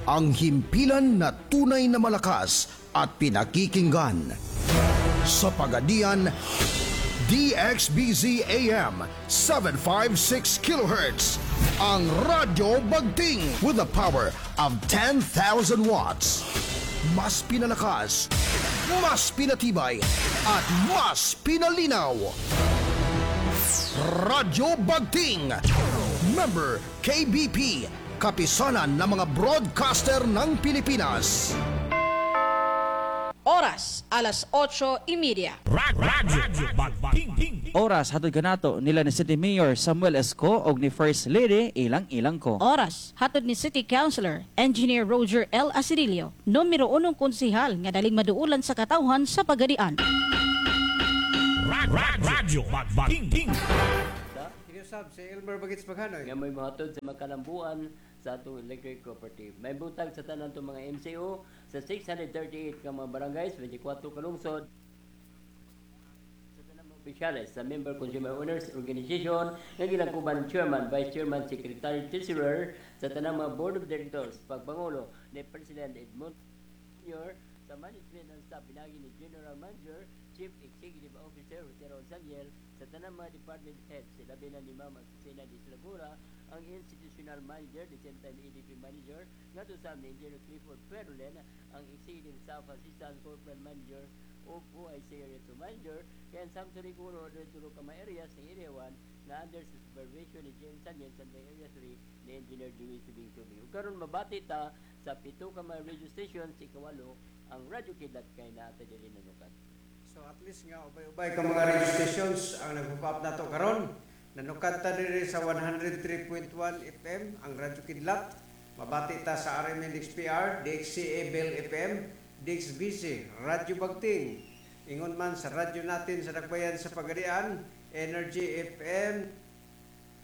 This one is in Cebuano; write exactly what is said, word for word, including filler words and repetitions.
Ang himpilan na tunay na malakas at pinakikinggan. Sa Pagadian, D X B Z A M seven fifty-six kilohertz. Ang Radyo Bagting with the power of ten thousand watts. Mas pinalakas, mas pinatibay, at mas pinalinaw. Radyo Bagting. Member K B P, Kapisanan ng mga Broadcaster ng Pilipinas. Oras, alas otso y media. Radyo Bagting. Oras, hatod kanato nila ni City Mayor Samuel Esco og ni First Lady Ilang Ilang Co. Oras, hatod ni City Councilor, Engineer Roger L. Asedillo, numero unong konsihal nga daling maduulan sa katawhan sa Pagadian. Radyo Bagting. Kinusab si Elmer Bagits Maghanoy. Nga may mohatod sa makalambuan sa atong electric cooperative. May butag sa tanan itong mga M C O sa six hundred thirty-eight ka mga barangays, twenty-four ka lungsod, sa tanang mga opisyales sa Member Consumer Owners Organization nga gilangkuban ng Chairman, Vice Chairman, Secretary, Treasurer, sa tanang mga Board of Directors, pagpangulo ni President Edmund Junior, sa management and staff pinagi ni General Manager, Chief Executive Officer Jose Raul Saniel, sa tanang mga department heads, labi na ni Ma'am Azucena de Slagura, ang Institutional Manager, the same time A D P Manager, ngadto sa ni Engineer Clifford Perlen, ang Executive Staff Assistant Corporate Manager o O I C Area two Manager, kaya ang Samson Riguro, dito ka mga areas ng Area one na under sa supervision ni James Saniel sa Area three ni Engineer Dewey Subing Subing. Ug karon mabati ta sa pito ka mga radio stations, ikawalo ang Radyo Kidlat kay naa ta diri nanukad. So at least nga ubay-ubay ka mga radio stations ang nagpop-up nato karon. Nanukad ta diri sa one hundred three point one F M ang Radyo Kidlat. Mabati ta sa R M N X P R, D X C A Bell F M, D X B C, Radyo Bagting. Ingon man sa radyo natin sa Dakbayan sa Pagadian, Energy F M.